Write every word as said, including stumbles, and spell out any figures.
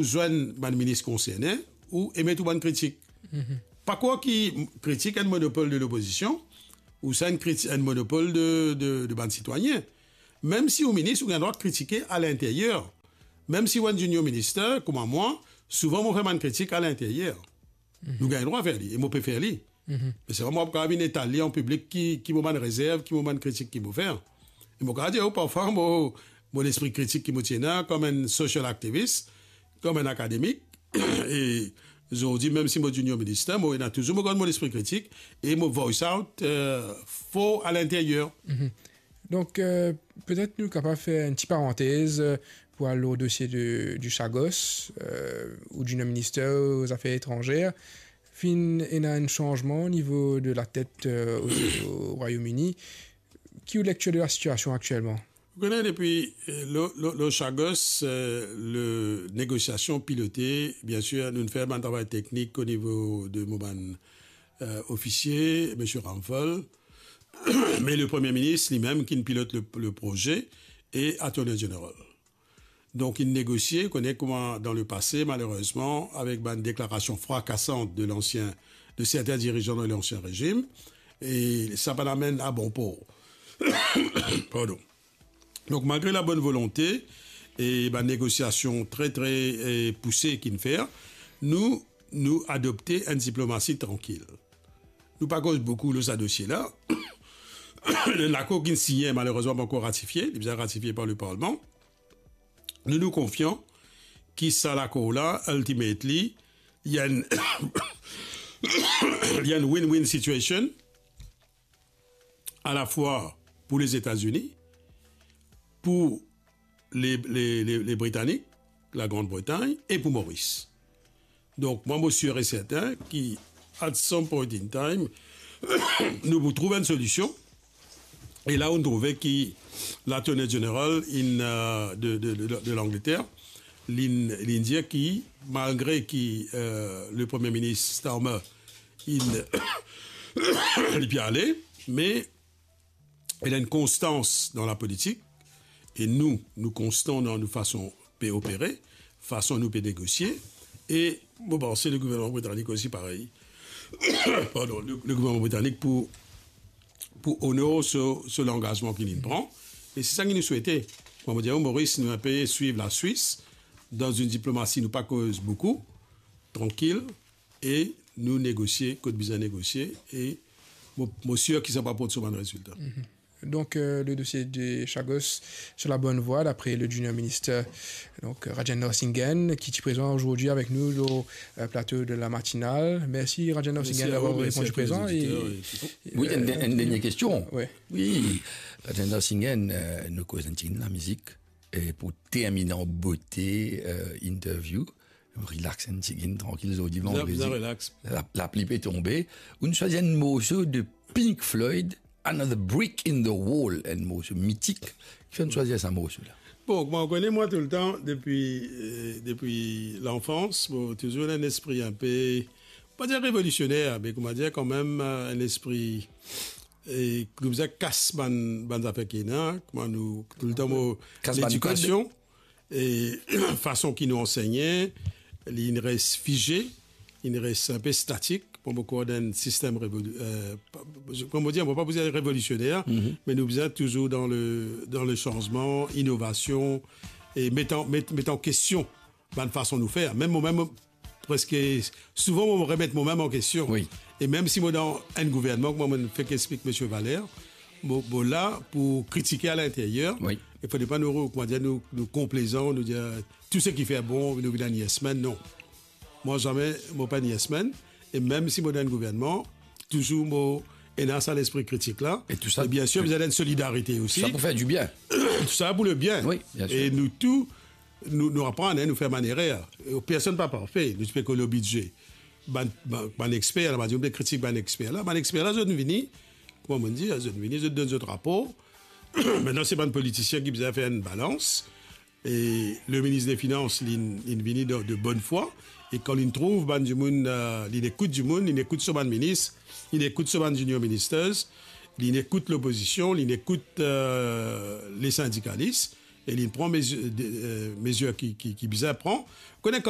ou zwenn bann minis konserne, ou emet ou bann kritik. Pa krwar ki kritik enn monopol de lopozision, ou sa enn kriti-, enn monopol de, de, de bann sitwayin. Mem si ou minis, ou gagn drwa kritike alinteryer. Mem si ou enn junior minister, kouma mwa, souvan mo fer bann kritik alinteryer. Nou gagn drwa fer li, e mo pe fer li. Me selman mo pa kapav vinn etal li an piblik ki, ki mo bann rezerv, ki mo bann kritik ki mo fer. E mo kapav dir ou, parfwa mo, mo lespri kritik ki mo ti ena kom enn social activist, kom enn akademik, e zordi, mem si mo junior minister, mo ena touzour mo gard mo lespri kritik, e mo voice out, eh, for alinteryer. Donk, eh, petet nou kapav fer enn ti parantez, eh, pou al lor dosie de, di Chagos, eh, ou junior minister o zafer etranzer. Finn ena enn sanzman o nivo de latet, eh, o, o Rwayom Ini. Ki ou lektir de lasitiasion aktielman? Ou kone depi, eh, lor, lor, lor Chagos, eh, le negosiasion pilote, biensir, nou fer bann travay teknik o nivo de mo bann, eh, ofisie, misie Ramphal, me le Premie Minis limem ki pilot le, le proze e Attorney General. Donk, inn negosie, kone kouma dan le pase, malerezman, avek bann deklarasion frakasant de lansien, de sertin dirizan dan lansien rezim, e sa pa amenn a bon por. Pardon. Donk, malgre labonn volonte e bann negosiasion tre, tre, eh, pouse ki'nn fer, nou, nou adopte enn diplomasi trankil. Nou pa koz boukou lor sa dosie la. Lakor ki'nn sinyen, malerezman, pankor ratifie, li bizin ratifie par le Parlman. Nou, nou konfian ki sa lakor la, ultimately, li enn, li enn win-win situation, alafwa pou Lezetazini, pou le, le, le, le Britanik, la Grande Bretagne, e pou Moris. Donk, mwa, mo sir e sertin ki, at some point in time, nou pou trouv enn solision. E la, ou trouve ki l'Attorney General in, eh, de, de, de, de Langleter, li'nn, li'nn dir ki, malgre ki, eh, le Premie Minis Starmer, in, li pe ale, me ena enn konstans dan lapolitik, e nou, nou konstan dan nou fason pe opere, fason nou pe negosie, e mo panse le gouverneman britanik osi parey. Pardon, le, le gouverneman britanik pou, pou onor so, so langazman ki li'nn pran, e se sa ki nou swete. Kouma mo dir, Moris, nou inpe swiv Laswis, dan enn diplomasi nou pa koz boukou, trankil, e nou negosie kot bizin negosie, e mo, mo sir ki sa pou aport so bann rezilta. Donk, eh, le dosie de Chagos sur la bonne voie, dapre le junior minister, donk, Rajendra Singhen, ki ti prezan azordi avek nou lor, eh, plato de La Matinale. Mersi, Rajendra Singhen, a, davoir reponn prezan. Mersi a tou lezoditer e, e, wi, enn, eh, enn dernie kestion. Wi. Wi, Rajendra Singhen, eh, nou koz enn tigit lamizik, e pou termine an bote, eh, interview, relax enn tigit, trankil, zordi vandredi. Bizin relax. La, lapli pe tonbe. Ou'nn swazir enn morso de Pink Floyd, Another Brick in the Wall, enn morso mitik. Kifer ou'nn swazir sa morso la? Bon, kouma ou kone mwa toultan, depi, eh, depi lanfans, mo touzour ena enn lespri inpe, pa dir revolisioner, me kouma dir kanmem, eh, enn lespri, e ki bizin kas bann, bann zafer ki ena, kouma nou, toultan mo, kas bann kod, ledikasion, e fason ki nou ansegne, li inn res fize, inn res inpe statik, pa boukou dan enn sistem revoli-, eh, pa, kouma dir, mo pa pou dir revolisioner, me nou bizin touzour dan le, dan le sanzman, inovasion, e met an, met, met an kestion bann fason nou fer. Mem momem, preske souvan mo remet momem an kestion. Wi. E mem si mo dan enn gouvernman, kouma mo fek explik misie Valère, mo, mo la pou kritike alinteryer. Wi. E fode pa nou, kouma dir, nou, nou konplezan, nou dir tou seki fer bon, nou vinn enn yes man, non. Mwa zame mo pa enn yes man. E mem si mo dan enn gouvernman, touzour mo ena sa lespri kritik la. E tou sa, e biensir, bizin enn solidarite osi. Sa pou fer dibien. Tou sa pou lebien. Wi, biensir. E nou tou, nou, nou aprann, hein, nou fer bann erer. E personn pa parfe, nou ti pe koz lor bidze. Bann, bann, bann exper la, bann dimoun pe kritik bann exper la. Bann exper la, zot vini, kouma mo dir, zot vini, zot donn zot rapor. Aster se bann politisien ki bizin fer enn balans. E le minis de finans, li, li vini de, de bonn fwa. E kan li trouv bann dimoun, eh, li ekout dimoun, li ekout so bann minis, li ekout so bann junior ministers, li ekout lopozision, li ekout, eh, le sindikalis, e li pran mezi-, de, eh, mezir ki, ki, ki bizin pran. Kone